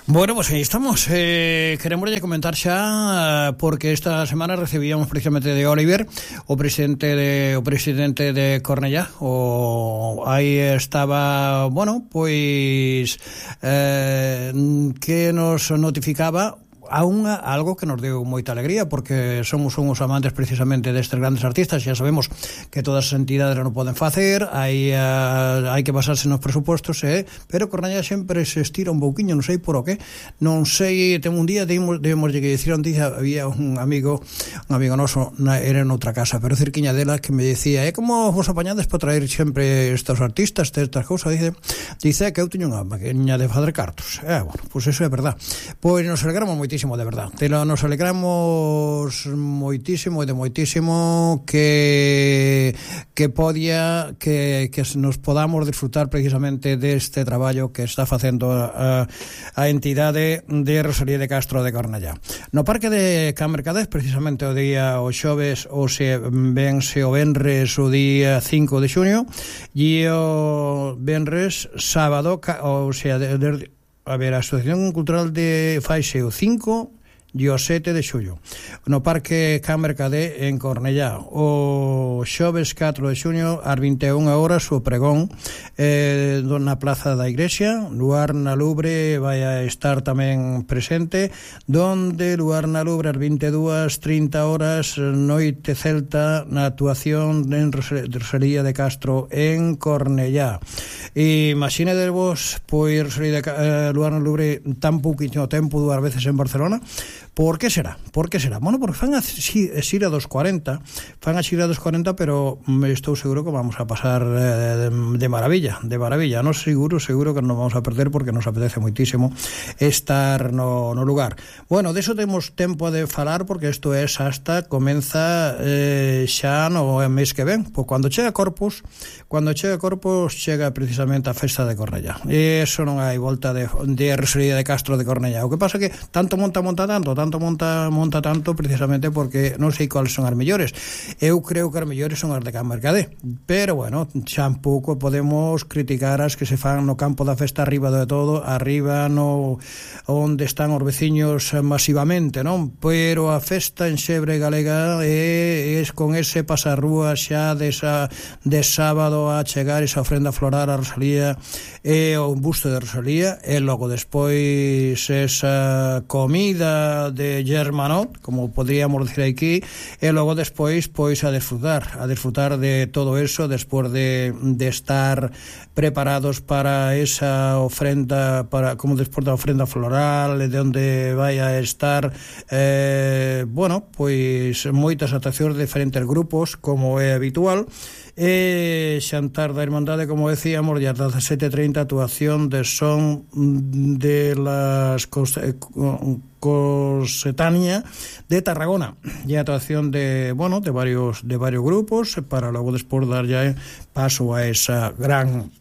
Bueno, pues aí estamos. Queremos comentar xa porque esta semana recibíamos precisamente de Oliver, o presidente de Cornellá. Aí estaba, bueno, pois que nos notificaba algo que nos deu moita alegría, porque somos uns amantes precisamente destes grandes artistas. Xa sabemos que todas as entidades non poden facer, hai que basarse nos presupostos, pero Cornellá sempre se estira un pouquiño, non sei por o que, non sei. Ten un día debemos que dicir, había un amigo noso, era en outra casa, pero cerquiña dela, que me decía, como vos apañades para traer sempre estos artistas, estas cousas? Dice que eu teño unha maquinha de fazer cartos. Bueno, pois eso é verdad. Pois nos alegramos moitísimo, de verdad. Nos alegramos moitísimo que nos podamos disfrutar precisamente deste traballo que está facendo a entidade de Rosalía de Castro de Cornellá. No Parque de Can Mercadés, precisamente o xoves, o venres o día 5 de xuño, e o venres sábado, a Asociación Cultural de Faixe o 5 e o 7 de xullo no Parque Can Mercadé en Cornellá. O xoves 4 de xuño ás 21 horas o pregón na Plaza da Igrexa. Luarna Lubre vai a estar tamén presente, donde Luarna Lubre ás 22:30 horas Noite Celta na actuación de Rosalía de Castro en Cornellá. Imaxinedevos, pois Luarna Lubre tan pouquinho tempo, 2 veces en Barcelona. Por que será? Bueno, porque fan a xira dos 40, pero estou seguro que vamos a pasar de maravilla. Non seguro que non vamos a perder, porque nos apetece moitísimo estar no lugar. Bueno, deso temos tempo de falar, porque isto é hasta comeza xa no mes que ven. Pois cando chega Corpus, chega precisamente a festa de Cornellá. E iso non hai volta de Rosalía de Castro de Cornellá. O que pasa que tanto monta tanto precisamente porque non sei cuáles son as mellores. Eu creo que as mellores son as de Can Mercadé, pero bueno, xa un pouco podemos criticar as que se fan no campo da festa, arriba de todo, arriba no onde están os veciños masivamente, non? Pero a festa en Xebre galega é con ese pasarrúa xa de sábado a chegar esa ofrenda floral a Rosalía e o busto de Rosalía, e logo despois esa comida de Germanot, como podríamos decir aquí, e logo despois pois a disfrutar de todo eso, despois de estar preparados para esa ofrenda, como despois da ofrenda floral, de onde vai a estar bueno, pois moitas actuacións de diferentes grupos, como é habitual, e xantar da Irmandade, como decíamos, e ás 17:30 actuación de son de las Cosetania de Tarragona, e actuación de varios grupos, para logo despois dar ya paso a esa gran